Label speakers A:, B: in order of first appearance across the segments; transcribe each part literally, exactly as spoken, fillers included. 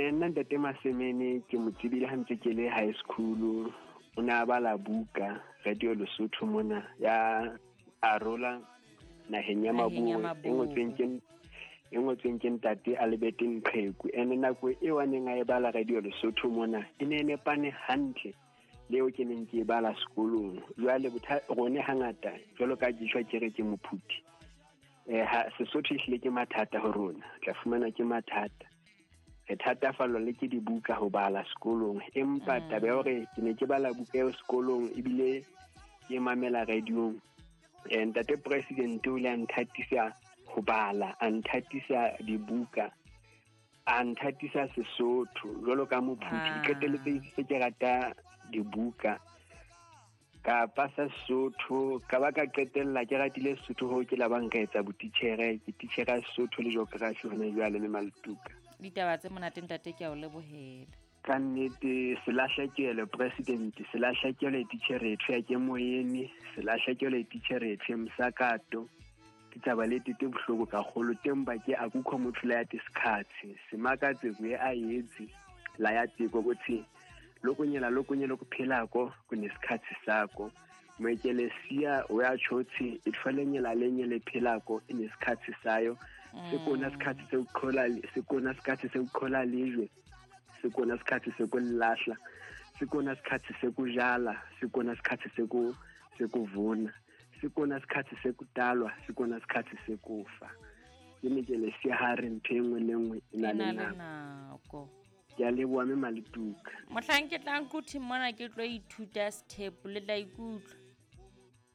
A: Eh nna ntate Masemene ke mo tsebile ha ntse ke le high school. O ne a bala buka Radio Lesotho mona ya Arola naheng ya Maboe e ngotsweng ke e ngotsweng ke ntate Albert Nqeku. Ene nako eo a neng a e bala Radio Lesotho mona e ne e nepane hantle le eo ke neng ke e bala sekolong. Jwale rone hangata jwalo ka ke tjho ke re ke mophuthi. Eh ha Sesotho ehlile ke mathata ho rona, tla fumana ke mathata. Re thatafallwa le ke dibuka ho bala sekolong, empa taba ya hore ke ne ke bala buka eo sekolong ebile ke mamela radiong. Eh ntate president o ile a nthatisa ho bala, a nthatisa dibuka, a nthatisa Sesotho jwalo ka mophuthi. Qetelletse se ke rata dibuka ka pasa Sesotho, ka ba ka qetella ke ratile Sesotho ho ke la ba nka etsa botitjhere, ke titjhere ya Sesotho le geography hona jwale le Maletuka.
B: Ditaba tse monate ntate, ke a o lebohela.
A: Ka nnete selahlekelo president, selahlekelo titjhere ya ke moyeni, selahlekelo titjhere ya msakato. Ke taba le tete bohloko ka kgolo teng ba ke akukho motho la ya tisikhathi simakatse kuye a yetsi la ya tiko ukuthi lokunyela lokunyela kuphilako kunesikhathi sakho moekelesia o ya tshotsi itfalenyela lenye lephilako inesikhathi sayo. Sekona sikhathi sokukhola, sekona sikhathi sokukhola lejwe, sekona sikhathi sokulahla, sekona sikhathi sokujala, sekona sikhathi seku sekuvuna, sekona sikhathi sekudalwa, sekona sikhathi sekufa. Ke mekelesia ha re ntho e nngwe le nngwe e na le
B: nako.
A: Ke a leboha mme Maletuka.
B: Mohlang ke tlang Quthing mona ke tlo ithuta sethepu le tla ikutlwa.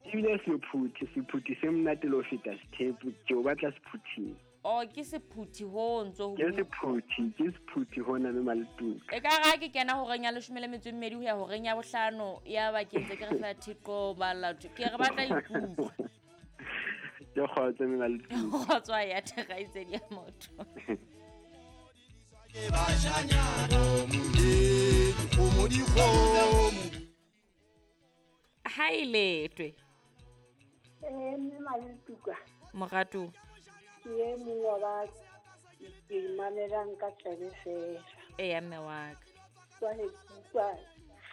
A: Ebile sephuthi, sephuthi se monate le ho feta sethepu, ke o batla sephuthing.
B: Oh, ke sephuthi ho ntso ho.
A: Ke sephuthi, ke sephuthi hona mme Maletuka.
B: E ka ra ke kena horeng ya leshome le metso e mmedi ho ya horeng ya bohlano, ya ba ke ntse ke re fela thiqo bala ke re batla ikutlwa.
A: Ke kgotso mme Maletuka.
B: Kgotso ya thekgaitsedi ya motho. Ha e letwe.
C: Eh mme Maletuka.
B: Moratu.
C: Ke e mong wa ba ke mamelang ka tsebe fela.
B: Eya mme wa ka.
C: Jwale ke utlwa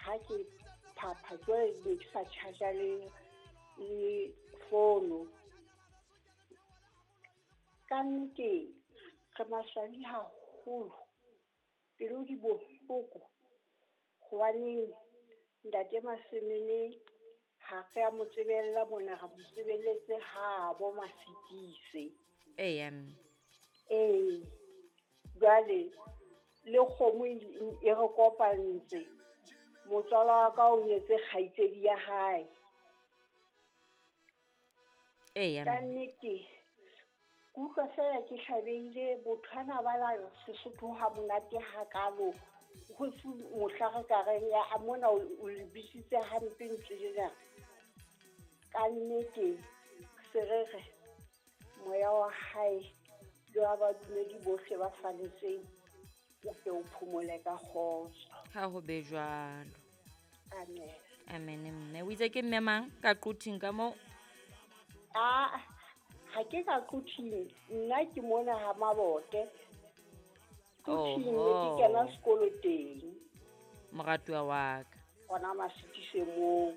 C: ha ke phapha jwale be ke sa charge le le fono. Ka nnete re maswabi haholo, pelo di bohloko hobaneng ntate Masemene ha re a mo tsebella mona, re mo tsebelletse habo Masikise.
B: Eya mme.
C: Ee, jwale le kgomo e re kopantse, motswala wa ka o nyetse kgaitsedi ya hae.
B: Eya
C: ka nnete ke utlwa fela ke hlabehile. Botho hana bala Sesotho ha monate hakalo, ho se mohla re ka reng ya mona o lebisitse hampe ntho ena. Ka nnete se re re moya wa hae le wa badumedi bohle ba faletseng o ke o phomole ka kgotso.
B: Ha ho be jwalo.
C: Amen.
B: Amen mme. O itse ke mme mang ka Quthing ka moo?
C: Ah, ha ke ka Quthing, nna ke mona ha Mabote. Quthing ne ke kena sekolo teng.
B: Moratuwa wa ka.
C: Hona Masikise moo.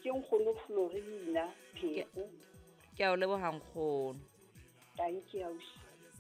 C: Ke nkgono Florina Pheko.
B: Ke a o leboha nkgono.
C: Thank you ausi.